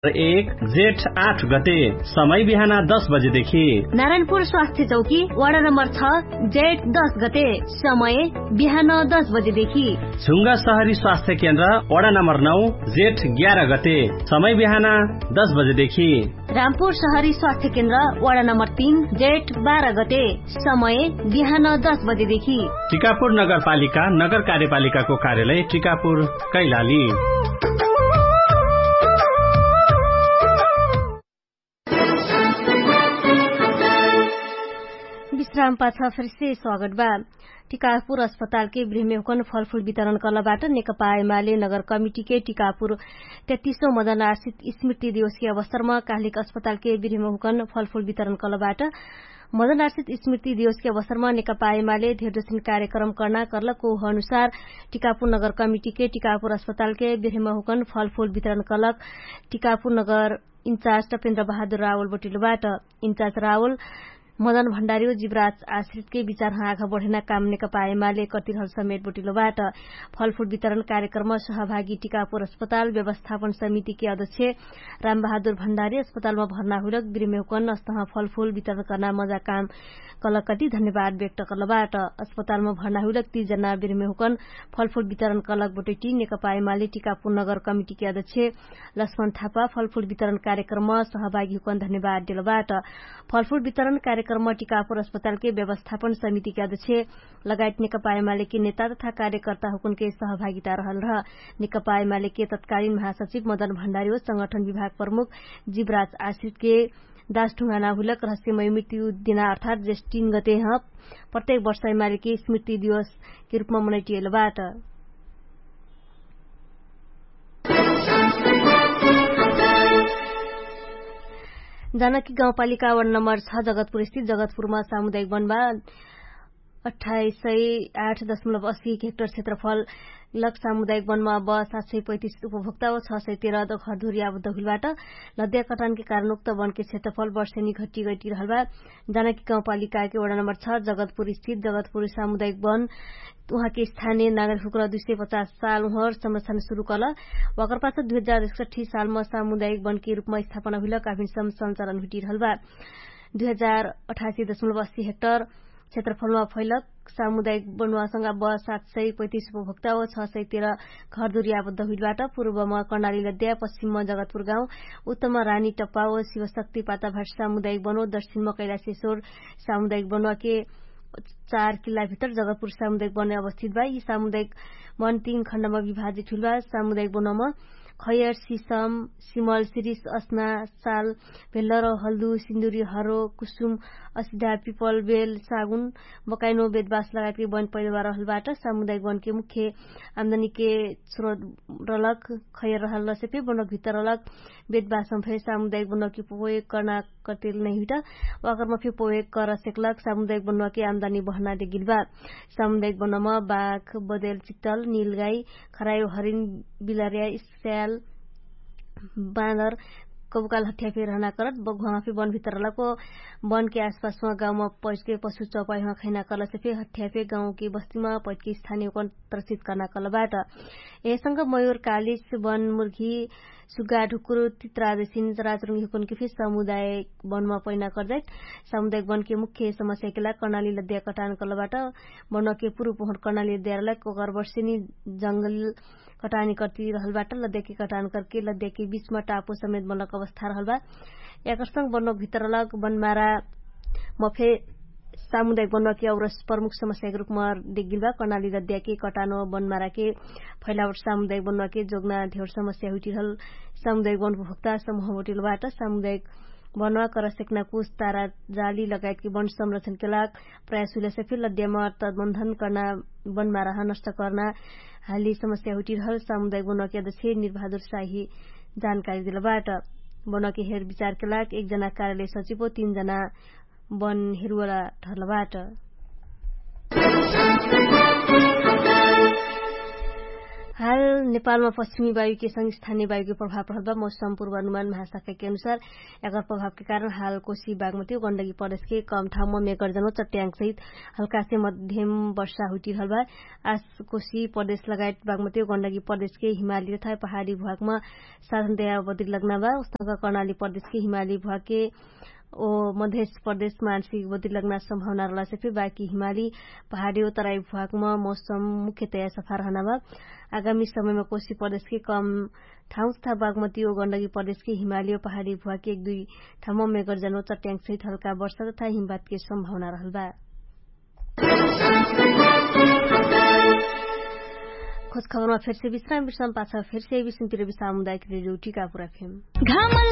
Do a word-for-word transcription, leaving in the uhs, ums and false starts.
एक जेठ आठ गते, समय बिहान दस बजेदेखि। नारायणपुर स्वास्थ्य चौकी वडा नम्बर छ, जेठ दस गते, समय बिहान दस बजेदेखि। झुङ्गा सहरी स्वास्थ्य केन्द्र वडा नम्बर नौ, जेठ ग्यार गते, समय बिहान दस बजेदेखि। रामपुर सहरी स्वास्थ्य केन्द्र वडा नम्बर तीन, जेठ बाह्र गते, समय बिहान दस बजेदेखि। टिकापुर नगरपालिका नगर कार्यपालिकाको कार्यालय टिकापुर, कैलाली। विश्राम पाछ फेरसे स्वागत बा। टिकापुर अस्पतालके बिरहमे हुकन फलफुल वितरण कलबाट नेकपा एमाले नगर कमिटीके टिकापुर तेत्तिसो मदन आर्षित स्मृति दिवसके अवसरमा काहलिक अस्पतालके बिरहमे हुकन फलफुल वितरण कलबाट। मदन आर्षित स्मृति दिवसके अवसरमा नेकपा एमाले धेरजसिन कार्यक्रम कर्ना कर्लक ओह अनुसार टिकापुर नगर कमिटीके टिकापुर अस्पतालके बिरहमे हुकन फलफुल वितरण कलक। टिकापुर नगर इन्चार्ज टपेन्द्र बहादुर रावल बोटिलोबाट। इन्चार्ज रावल मदन भण्डारी ओ जिवराज आश्रितके विचार हाँघ बढेना काम नेकपा एमाले कतिरहल समेट बोटिलोबाट। फलफुल वितरण कार्यक्रम सहभागी टिकापुर अस्पताल व्यवस्थापन समितिके अध्यक्ष रामबहादुर भण्डारी अस्पतालमा भर्ना हुइलक बिरमे हुकन अस्तह फलफुल वितरण कर्ना मजा काम कलक कति धन्यवाद व्यक्त कर्लबाट। अस्पतालमा भर्ना हुइलक तीस जना बिरमे हुकन फलफुल वितरण कलक बोटैटी नेकपा एमाले टिकापुर नगर कमिटीके अध्यक्ष लक्ष्मण थापा फलफुल वितरण कार्यक्रम सहभागी हुकन धन्यवाद देलबाट। फलफुल वितरण कार्यक्रम टिकापुर अस्पतालके व्यवस्थापन समितिके अध्यक्ष लगायत नेकपा एमालेके नेता तथा कार्यकर्ता हुकुनके सहभागिता रहल रह। नेकपा एमालेके तत्कालीन महासचिव मदन भण्डारी ओ संगठन विभाग प्रमुख जिवराज आश्रितके दास ढुङ्गाना हुइलक रहस्यमय मृत्यु दिना अर्थात् जेष्ठ तीन गते ह प्रत्येक वर्ष एमालेके स्मृति दिवसके रूपमा मनैटिएलबाट। जानकी गाउँपालिका वडा नम्बर छ जगतपुर स्थित जगतपुरमा सामुदायिक वनबा अठाइस सय आठ दशमलब अस्सी हेक्टर क्षेत्रफल लक सामुदायिक वनमा ब सात सय पैतिस उपभोक्ता ओ छ सय तेह्र दखरधुरी आबद्ध हुइलबाट। लद्या कटानके कारण उक्त वनके क्षेत्रफल वर्षेनी घटी गटी रहलबा। जानकी गाउँपालिकाके वडा नम्बर छ जगतपुर स्थित जगतपुर सामुदायिक वन उहाँके स्थानीय नागरिक हुक्र दुई सय पचास साल उहर संरक्षण सुरु कल। वाकरपास दुई हजार एकसठी सालमा सामुदायिक वनके रूपमा स्थापना हुइल काफिनसम सञ्चालन हुइटिरहलबा। दुई हजार अठासी दशमलब अस्सी हेक्टर क्षेत्रफलमा फैलक सामुदायिक बनुवासँग ब सात सय पैतिस उपभोक्ता ओ छ सय तेह्र घरदुरी आबद्ध हुइलबाट। पूर्वमा कर्णाली लद्या पश्चिममा जगतपुर गाउँ उत्तममा रानी टप्पा ओ शिवशक्ति पाताभाट सामुदायिक बनो दक्षिणमा कैलाशेश्वर सामुदायिक बनुवाके चार किल्लाभित्र जगतपुर सामुदायिक बने अवस्थित बा। यी सामुदायिक बन तीन खण्डमा विभाजित हुइलबा। सामुदायिक बनुवामा खयर सिसम सिमल सिरिस असना साल भेल्लर हल्दु सिन्दुरी हरो कुसुम असिधा पिपल बेल सागुन बकाइनो बेदबास लगायतके बन पैदवार रहलबाट। सामुदायिक वनके मुख्य आमदानीके स्रोत रलक खयर रहल रसेपे बनक भित्तर रलक बेदबासम फे सामुदायिक बनकी पोवेक कर्ना कटेल नैहुइट वाकरमा फे पोवेक कर सेकलक सामुदायिक बनकी आमदानी बहना देगिलबा। सामुदायिक बनम बाख बदेल चित्तल निलगाई खरायो हरिन बिलर्या स्याल बाँदर कबुकाल हठ्या फे रहना करत बघुवामा फे बन भित्तर लको बनके आसपासमा गाउँमा पैठके पशु चौपाइमा खैना करलसे फे हठ्या फे गाउँके बस्तीमा पैठके स्थानीय कन त्रसित कर्ना करलबाट। एहेसँग मयुर कालिस बन मुर्घी सुगा ढुकुर तित्रादेसिन राजरुङ्गी हुकुनके फे समुदाय बनमा पैना करदैत। सामुदायिक बनके मुख्य समस्याके लाग कर्णाली लद्या कटान करलबाट। बनके पुरुप होट कर्णाली लद्या रहलक ओकर वर्षेनी जङ्गल कटानी कर्ति रहलबाट लद्याके कटान करके लद्याके बिचमा टापो समेत बनक अवस्था रहलबा। एकरसँग बनो भित्रलक बनमारा मफे सामुदायिक बनुवाके और प्रमुख समस्याके रूपमा देगिलबा कर्णाली लद्याके कटानो बनमाराके फैलावट सामुदायिक बनुवाके जोगना धेवर समस्या हुइटिरहल। सामुदायिक बन उपभोक्ता समूह होटिलबाट सामुदायिक बनुवा करसेक्ना कुछ तारा जाली लगायतके बन संरक्षणके लाग प्रयास हुइलसे फिर लद्यामा तदबन्धन कर्ना बनमाराह नष्ट कर्ना हाली समस्या हुइटिरहल सामुदायिक बनुवाके अध्यक्ष निर्भादुर साही जानकारी दिलबाट। बनुवाके हेर विचारके लाग एक जना कार्यालय सचिव ओ तीन जना बन हेरुवाला ठर्लबाट। हाल नेपालमा पश्चिमी वायुके संग स्थानीय वायुके प्रभाव प्रहल बा मौसम पूर्वानुमान महाशाखाके अनुसार एकर प्रभावके कारण हाल कोशी बागमती गण्डकी प्रदेशके कम ठाउँमा मेगर्जन व चट्याङ्गसहित हल्कासे मध्यम वर्षा हुइटिरहल बा। आस कोशी प्रदेश लगायत बागमती गण्डकी प्रदेशके हिमाली तथा पहाडी भुवाकमा साधन दया बदिर लग्ना बा। उस्तक कर्णाली प्रदेशके हिमाली भुवाके ओ मधेश प्रदेश मानसिक बदिर लग्ना सम्भावना रहलासे फे बाकी हिमाली पहाडी ओ तराई भुवाकमा मौसम मुख्यतया सफा रहना बा। आगामी समयमा कोशी प्रदेशके कम ठाउँ तथा बागमती ओ गण्डकी प्रदेशके हिमाली ओ पहाडी भुवाके एक दुई ठाउँमा मेगर्जन ओ चट्याङ्गसहित हल्का वर्षा तथा हिमबातके सम्भावना रहल बा। खोज खबरमा फेरसे विश्राम विश्राम पाछ फेरसे विश्राम तिर विश्राम उदायक रेडियो टिका पुरा फेम। घामल